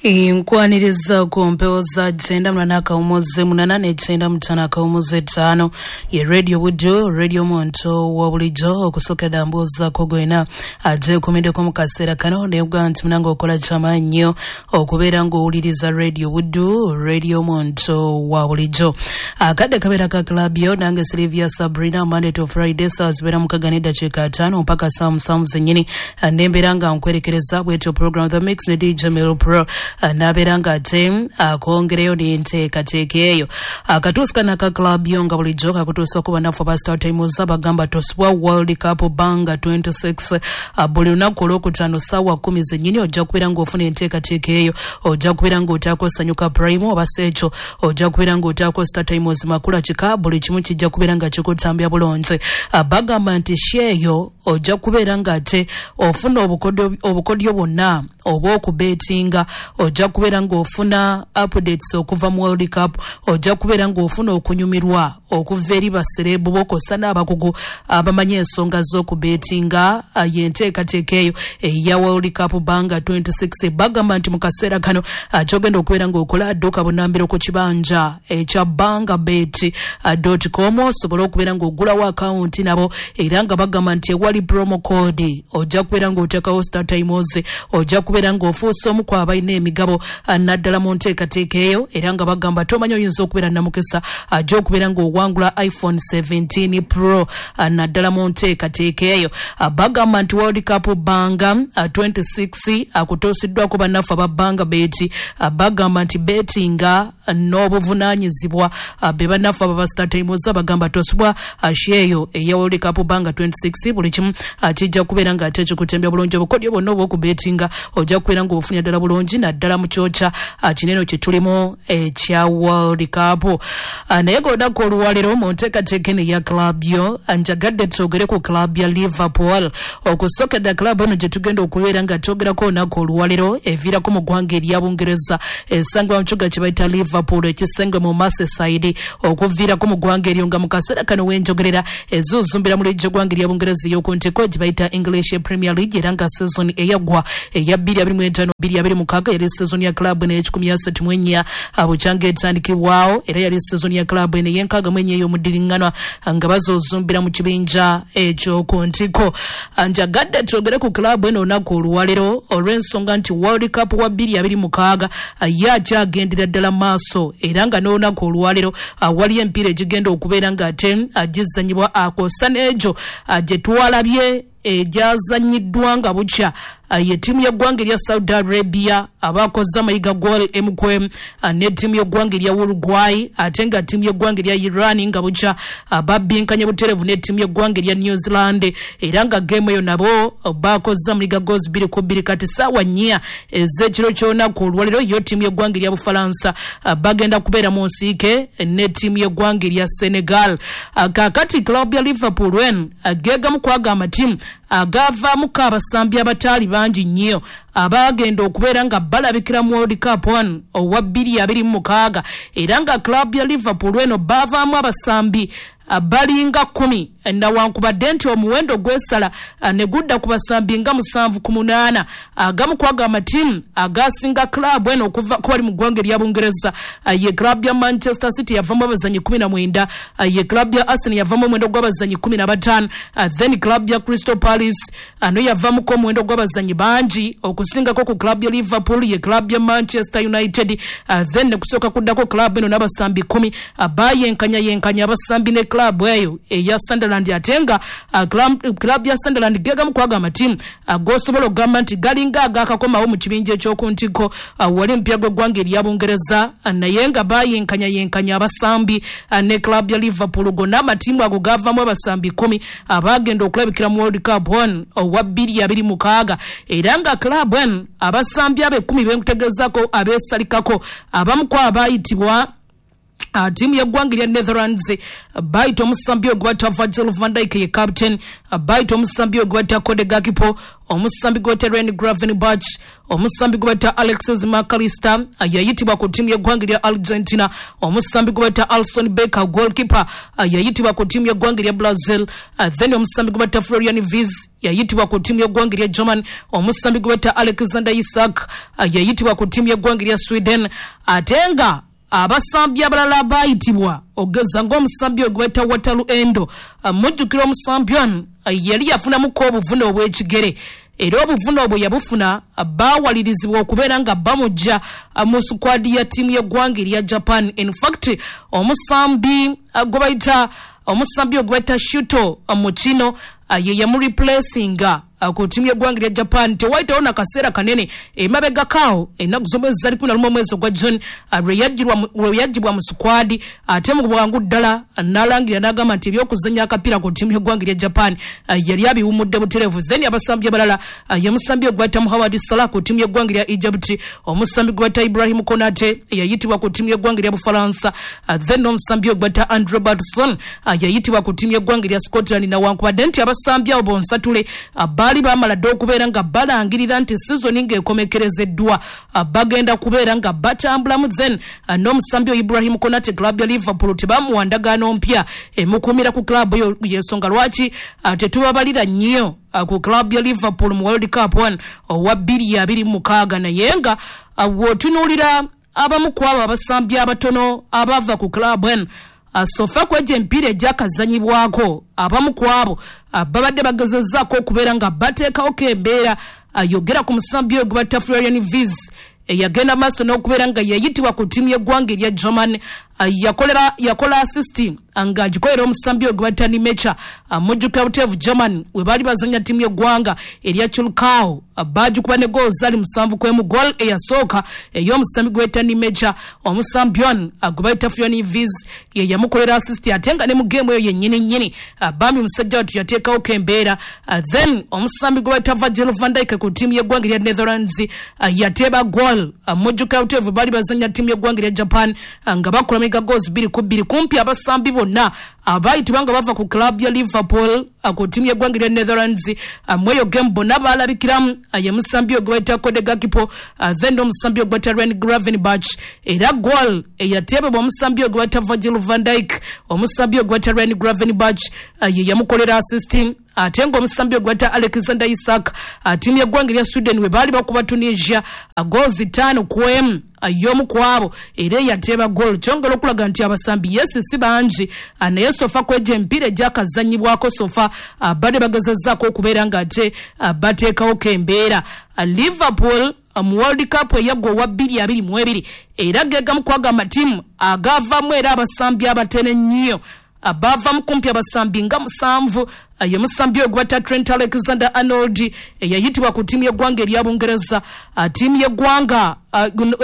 Nkwaniriza ku mpewo za 98 ne 95.5 ye Radio Buddu, radio omuntu wa bulijjo. Okusookera mbuuzaako gwena agyekuumiddeko mu kaseera kano, nekugaa nti munange okola kyamaanyi nnyo okubeera ng'owuliriza Radio Buddu, radio omuntu wa bulijjo. Akadde kabeera ka club yo, nange Silvia Sabrina, Monday to Friday saa zibeera 6:05 mpaka saa 7 zennyini, nembeera nga nkwerekereza bwetyo program The Mix ne DJ Mel Pro, nabeera nga ate akwongereyo n'enteekateeka eyo. Akatuusi kano aka club yo nga bulijjo kakutuusa okuba naffe aba Star Times, abagamba tosubwa World Cup Banga 26 buli lunaku olwokutaano ssaawa 10 zennyini. Ojja kubeera ng'ofuna enteekateeka eyo, ojja kubeera ng'otaako Sanyuka Prime, oba si ekyo ojja kubeera ng'otaako Star Times Makula Kika. Buli kimu kijja kubeera nga kikutambya bulungi. Bagamba nti sheeyo ojja kubeera ng'ate ofuna obukodyo bwonna oba okubeetinga, ojja kubeera ng'ofuna updates okuva mu World Cup, ojja kubeera ng'ofuna okunyumirwa okuva eri basereebu bokosa n'abakugu abamanyi ensonga z'okubeetinga. Yenteekateeka eyo eya World Cup Banga 26. Bagamba nti mu kaseera kano kyogenda okubeera ng'okola, adduka bunambiro ku kibanja ekya bangabet.com osobole okubeera ng'ogulawo akawunti nabo, era nga bagamba nti ewali promo code ojja kubeera ng'oteekawo Star Times, ojja kubeera ng'ofuusa omu ku abalina emigabo naddala mu nteekateeka eyo. Era nga bagamba tomanyi oyinza okubeera namukisa ajja okubeera ng'owangula iPhone 17 Pro naddala mu nteekateeka eyo. Bagamba nti World Cup Banga 26 akutuusiddwako bannaffe aba Banga Bet. Bagamba nti betinga n'obuvunaanyizibwa, be bannaffe aba Star Times. Bagamba tosubwa sheeyo eya World Cup Banga 26, buli kimu kijja kubeera nga ate kikutembya bulungi. Obukodyo bwonna obw'okubetinga ojja kubeera ng'obufunye ddala bulungi, naddala mu kyokya kinene kye tulimu ekya World Cup. Naye ng'olunaku olwaleero mu nteekateeka eno eya club yo, njagadde twogere ku club ya Liverpool. Okusookera club eno gye tugenda okubeera nga twogerako olunaku olwaleero eviirako mu ggwanga erya Bungereza, esangibwa mu kibuga kye bayita Liverpool ekisenge mu Merseyside, okuviirako mu ggwanga eryo, nga mu kaseera kano wenjogerera ezuuzumbira mu liigi y'eggwanga erya Bungereza ey'oku ntiko gye bayita English Premier League. Era nga season eyaggwa eya 2025/2026 yali season ya club eno ey'e134 bukyanga etandikibwawo, era yali season ya club eno ey'e64 ey'omudiriŋŋanwa nga bazuuzumbira mu kibinja eky'oku ntiko. Njagadde twogere ku club eno olunaku olwaleero olw'ensonga nti World Cup wa 2026 ye akyagendera ddala maaso, era nga n'olunaku olwaleero waliyo emipiira egigenda okubeera ng'ate gizanyibwa akosa n'egyo gye twalabye egyazanyiddwa nga bukya ye ttiimu y'eggwanga erya Saudi Arabia abakoze amayiga goal emu ku emu ne ttiimu y'eggwanga erya Uruguay, ate nga ttiimu y'eggwanga erya Iran nga bukya babbinkanye butereevu ne ttiimu y'eggwanga erya New Zealand, era nga geemu eyo nabo bakoze amayiga goals 2-2. Kati ssaawa 4 ez'ekiro ky'olunaku olwaleero yo ttiimu y'eggwanga erya Bufalansa bagenda kubeera mu nsiike ne ttiimu y'eggwanga erya Senegal. Kaakati club ya Liverpool eno geegamu kwaga amatiimu agavaamuko abasambi abataali bangi nnyo abagenda okubeera nga balabikira mu World Cup one owa 2026, era nga club ya Liverpool eno baavaamu abasambi balinga 10, nawankubadde nti omuwendo gwesala ne gudda ku basambi nga 7 ku 8. Agamu kwaga amatiimu agasinga club eno okuva kubali mu ggwanga erya Bungereza ye club ya Manchester City, yavamu abazanyi 19, ye club ya Arsenal yavamu omuwendo gw'abazanyi 15, then club ya Crystal Palace ano yavamuko omuwendo gw'abazanyi bangi okusingako ku club ya Liverpool ye club ya Manchester United, then nekusooka kuddako club eno n'abasambi 10. Bayenkanya yenkanya abasambi ne club eyo eya Sunderland, ate nga club ya Sunderland gegamu kwaga amatiimu gosobola okugamba nti galinga agakakomawo mu kibinja eky'oku ntiko wali mpya gw'eggwanga erya Bungereza, naye nga bayenkanya yenkanya abasambi ne club ya Liverpool. Gonna amatiimu ago gavamu abasambi 10 abagenda okulabikira mu World Cup one owa 2026, era nga club eno abasambi abo 10 benkutegeezako abeesalikako abamu ku abayitibwa Ttiimu y'eggwanga erya Netherlands bayita omusambi ogwe bayita Virgil van Dijk, ye captain. Bayita omusambi ogwe bayita Cody Gakpo, omusambi gwe bayita Ryan Gravenberch, omusambi gwe bayita Alexis McAllister yayitibwa ku ttiimu y'eggwanga erya Argentina, omusambi gwe bayita Alisson Becker, goalkeeper, yayitibwa ku ttiimu y'eggwanga erya Brazil, then omusambi gwe bayita Florian Wirtz yayitibwa ku ttiimu y'eggwanga erya German, omusambi gwe bayita Alexander Isak yayitibwa ku ttiimu y'eggwanga erya Sweden. Ate nga abasambi abalala bayitibwa ogeza ng'omusambi ogwe bayita Wataru Endo. Mujjukira omusambi ono yali yafunamuko obuvune obw'ekigere, era obuvune obwo yabufuna baawalirizibwa okubeera nga bamujja mu squad ya ttiimu y'eggwanga erya Japan. In fact, omusambi gwe bayita omusambi ogwe bayita Shuto Mukino ye yamureplacinga ku ttiimu y'eggwanga erya Japan. Tewayitawo nakaseera kanene emabegakaawo, ennaku z'omwezi zali 11 omwezi ogwa June lwe yaggyibwa mu squad, ate mu bwangu ddala n'alangira n'agamba nti ebyokuzannya akapiira ku ttiimu y'eggwanga erya Japan yali abiwumudde butereevu. Then abasambi abalala ye musambi ogwe bayita Mohamed Salah ku ttiimu y'eggwanga erya Egypt, omusambi gwe bayita Ibrahim Konate yayitibwa ku ttiimu y'eggwanga erya Bufalansa, then n'omusambi ogwe bayita Andrew Robertson yayitibwa ku ttiimu y'eggwanga erya Scotland. Nawankubadde nti abasambi abo bonsatule baali bamala dda okubeera nga balangirira nti sizoni ng'ekomekerezeddwa bagenda kubeera nga batambulamu. Then n'omusambi oyo Ibrahim Konate, club ya Liverpool tebamuwa ndagaano mpya emukuumira ku club eyo, yensonga lwaki tetubabalira nnyo ku club ya Liverpool mu World Cup 1 owa 2026. Naye nga bw'otunuulira abamu ku abo abasambi abatono abava ku club eno, so far kwegyo emipiira egyakazanyibwako, abamu ku abo babadde bagezezzaako okubeera nga bateekawoko embeera. Yogera ku musambi oyo gwe bayita Florian Wirtz eyagenda maaso n'okubeera nga yayitibwa ku ttiimu y'eggwanga erya German, yakola assist ng'agikolera omusambi oyo gwe bayita Nmecha. Mujjukira buteevu German we baali bazanya ttiimu y'eggwanga erya Curacao, baagikuba ne goal zaali 7-1, goal eyasooka ey'omusambi gwe bayita Nmecha, omusambi ono gwe bayita Florian Wirtz ye yamukolera assist, ate nga ne mu geemu eyo yennyini nnyini bambi musajja wattu yateekawoko embeera. Then omusambi gwe bayita Virgil van Dijk ku ttiimu y'eggwanga erya Netherlands yateeba goal. Mujjukira buteevu baali bazanya ttiimu y'eggwanga erya Japan nga bakola miga goals 2-2. Kumpi abasambi bonna abayitibwa nga bava ku club ya Liverpool ku ttiimu y'eggwanga erya Netherlands mweyo game bonna baalabikiramu. Ye musambi ogwe bayita Cody Gakpo, then n'omusambi ogwe bayita Ryan Gravenberch, era goal eyateebebwa omusambi ogwe bayita Virgil van Dijk, omusambi ogwe bayita Ryan Gravenberch ye yamukolera assist. Ate ng'omusambi ogwe bayita Alexander Isak, ttiimu y'eggwanga erya Sweden we baali bakuba Tunisia goals 5-1, y'omu ku abo era eyateeba goal. Kyongera okulaga nti abasambi yes si bangi, naye so far kwegyo emipiira egyakazanyibwako so far badde bagezezzaako okubeera ng'ate bateekawoko embeera. Liverpool mu World Cup eyaggwa owa 2022 era gegamu kwaga amatiimu agavaamu era abasambi abatene ennyo, bavamu kumpi abasambi nga 7. Ye musambi ogwe bayita Trent Alexander Arnold eyayitibwa ku ttiimu y'eggwanga erya Bungereza, ttiimu y'eggwanga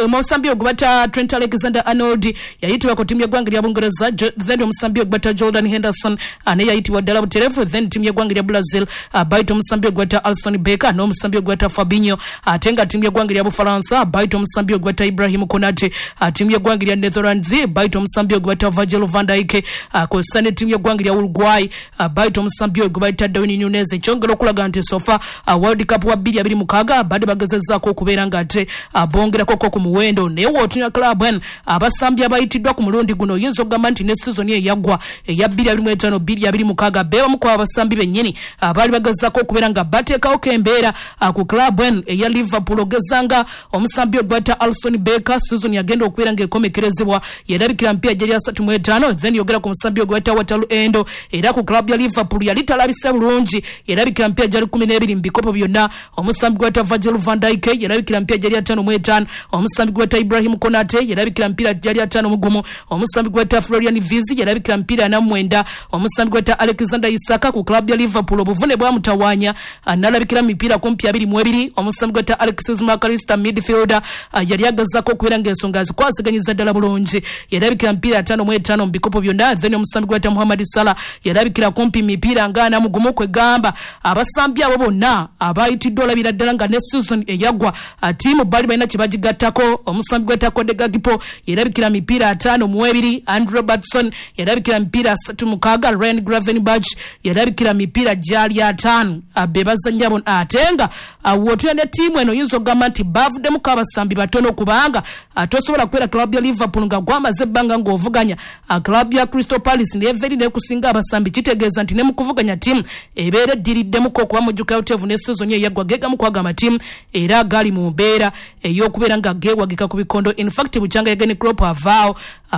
omusambi ogwe bayita Trent Alexander Arnold yayitibwa ku ttiimu y'eggwanga erya Bungereza, then omusambi ogwe bayita Jordan Henderson naye yayitibwa ddala butereevu. Then ttiimu y'eggwanga erya Brazil bayita omusambi ogwe bayita Alisson Becker n'omusambi ogwe bayita Fabinho, ate nga ttiimu y'eggwanga erya Bufalansa bayita omusambi ogwe bayita Ibrahim Konate, ttiimu y'eggwanga erya Netherlands bayita omusambi ogwe bayita Virgil van Dijk, kw'ossa ne ttiimu y'eggwanga erya Uruguay bayita omusambi ogwe bayita Darwin Nunez. Ekyongera okulaga nti so far World Cup wa 2026 badde bagezezzaako okubeera ng'ate bongerakoko ku muwendo. Naye w'otunya club eno abasambi abayitiddwa ku mulundi guno, oyinza okugamba nti ne sizoni eyaggwa eya 2025 2026 beebamu ku abasambi bennyini abaali bagezezzaako okubeera nga bateekawoko embeera ku club eno eya Liverpool, ogezanga omusambi ogwe bayita Alisson Becker, sizoni yagenda okubeera ng'ekomekerezebwa yerabikira mpiira gyeri 35. Then yogera ku musambi ogwe bayita Wataru Endo, era ku club ya Liverpool yali talabise bulungi, yerabikira mpiira gyali 12 mu bikopo byonna. Omusambi gwe bayita Virgil van Dijk yerabikira mpiira gyali 55. Omusambi gwe bayita Ibrahim Konate yerabikira mpiira gyali 51. Omusambi gwe bayita Florian Wirtz yerabikira mpiira 49. Omusambi gwe bayita Alexander Isak ku club ya Liverpool obuvune bwamutawaanya n'alabikira mipiira kumpi 22. Omusambi gwe bayita Alexis McAllister, midfielder, yali agezaako okubeera ng'ensonga azikwasiganyiza ddala bulungi, yerabikira mpiira 55 mu bikopo byonna. Then omusambi gwe bayita Mohamed Salah yerabikira kumpi mipiira nga 41. Kwegamba abasambi abo bonna abayitiddwa olabira ddala nga ne season eyaggwa ttiimu baali balina kye N'agigattako omusambi gweta Cody Gakpo yerabikira mipiira 52, Andrew Robertson yerabikira mipiira 36, Ryan Gravenberch yerabikira mipiira gyali 5. Be bazannya bonna, ate nga w'otulya ne ttiimu eno oyinza okugamba nti baavuddemuko abasambi batono, kubanga tosobola kubeera club ya Liverpool nga gwamaze ebbanga ng'ovuganya club ya Crystal Palace neva eri nekusinga abasambi. Kitegeeza nti ne mu kuvuganya ttiimu ebeera eddiriddemuko, okuba mujjuka utevu ne season eyaggwa gegamu kwaga amatiimu era gali mu mbeera ey'okubeera nga geewagika ku bikondo. In fact bukyanga Jurgen Klopp avaawo,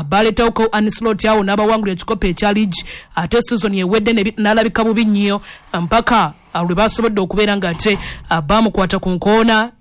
baleetawoko Arne Slot awo n'abawangulira ekikopo ekya league, ate season ewedde n'alabika bubi nnyo mpaka lwe basobodde okubeera nga ate bamukwata ku nkoona.